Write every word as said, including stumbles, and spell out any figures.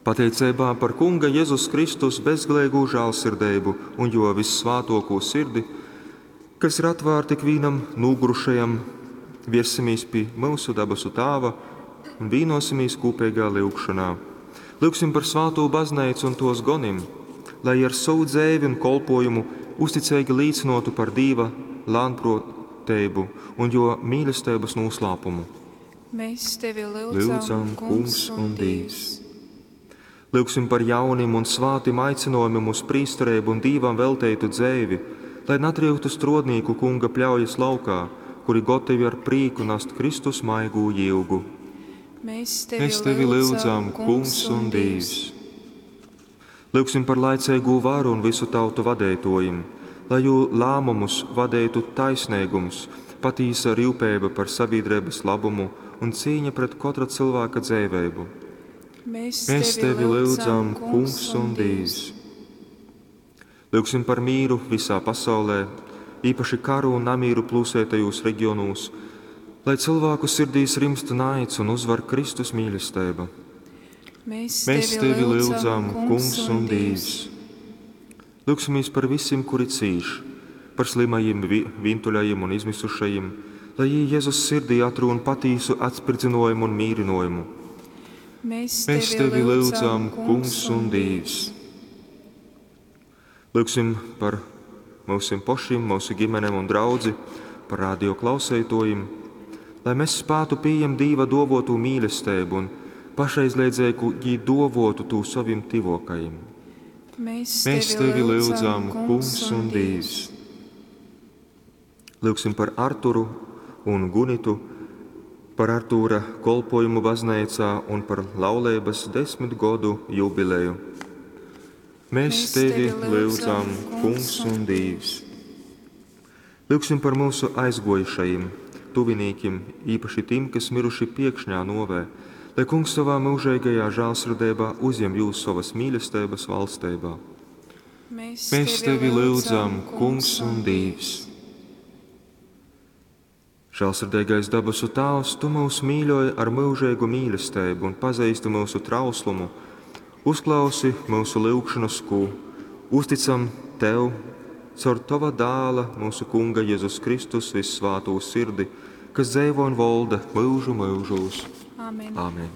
Pateiceibā par Kunga Jezus Kristus bezgaleigū žālsirdeibu un Jō vyssvātōkū sirdi, kas ir atvārta ikvīnam nūgurušajam, viersimies pi myusu dabasu Tāva un vīnosimies kūpeigā lyugšonā. Lyugsim par svātū bazneicu un tōs gonim, lai ar sovu dzeivi un kolpojumu uzticeigi līcynotu par Dīva lānprōteibu un Jō mīlesteibas nūslāpumu. Mēs tevi lyudzam, Lyudzam, Kungs un Dīvs. Lyugsim par jaunim un svātim aicinojumim uz prīstereibu un Dīvam velteitu dzeivi, lai natryuktu strōdnīku Kunga pļaujas laukā, kuri gotovi ar prīku nast Kristus maigū jyugu. Mēs tevi, Mēs tevi lyudzam, Kungs un Dīvs. Lyugsim par laiceigū varu un visu tautu vadeitōjim, lai jū lēmumus vadeitu taisneigums, patīsa ryupeiba par sabiedrības labumu un cīņa pret kotra cilvēka dzeiveibu. Mēs, Mēs tevi lyudzam, Kungs un Dīvs. Lyugsim par mīru visā pasaulē, īpaši karu un namīru plūsētajūs regionūs, lai cilvēku sirdīs rimst naids un uzvar Kristus mīlestība. Mēs, Mēs tevi lyudzam, Kungs un Dīvs. Lūgsimies par visiem, kuri cīš, par slimajiem, vi- vientuļajiem un izmisušajiem, lai jī Jēzus sirdī atrūn patīsu atspirdzinājumu un mīrinājumu. Mēs, Mēs tevi lyudzam, Kungs un Dīvs. Lūgsim par mūsim pašiem, mūsu ģimenēm un draudzi, par radio klausētojiem, lai mēs spētu pieņemt Dīva dovotu mīlestību un pašaizliedzēju dovotu tū savim tivokajiem. Mēs, Mēs tevi lyudzam, Kungs un Dīvs. Lūgsim par Arturu un Gunitu, par Artūra kolpojumu baznīcā un par laulības desmit godu jubileju. Mēs tevi lyudzam, Kungs un Dīvs. Lūgsim par mūsu aizgojušajiem, tuvinīkiem, īpaši tiem, kas miruši piekšņā novē, lai Kungs savā mūžīgajā žēlsirdībā uzņem jūs savas mīlestības valstībā. Mēs, Mēs tevi lyudzam, Kungs un Dīvs. Žēlsirdīgais dabasu Tēvs, tu mūs mīļoji ar mūžīgu mīlestību un pazīsti mūsu trauslumu. Uzklausi mūsu lūgšanas, ko uzticam tev caur tava dēla, mūsu Kunga Jēzus Kristus vissvātū sirdi, kas dzīvo un valda mūžu mūžos. Āmen. Āmen.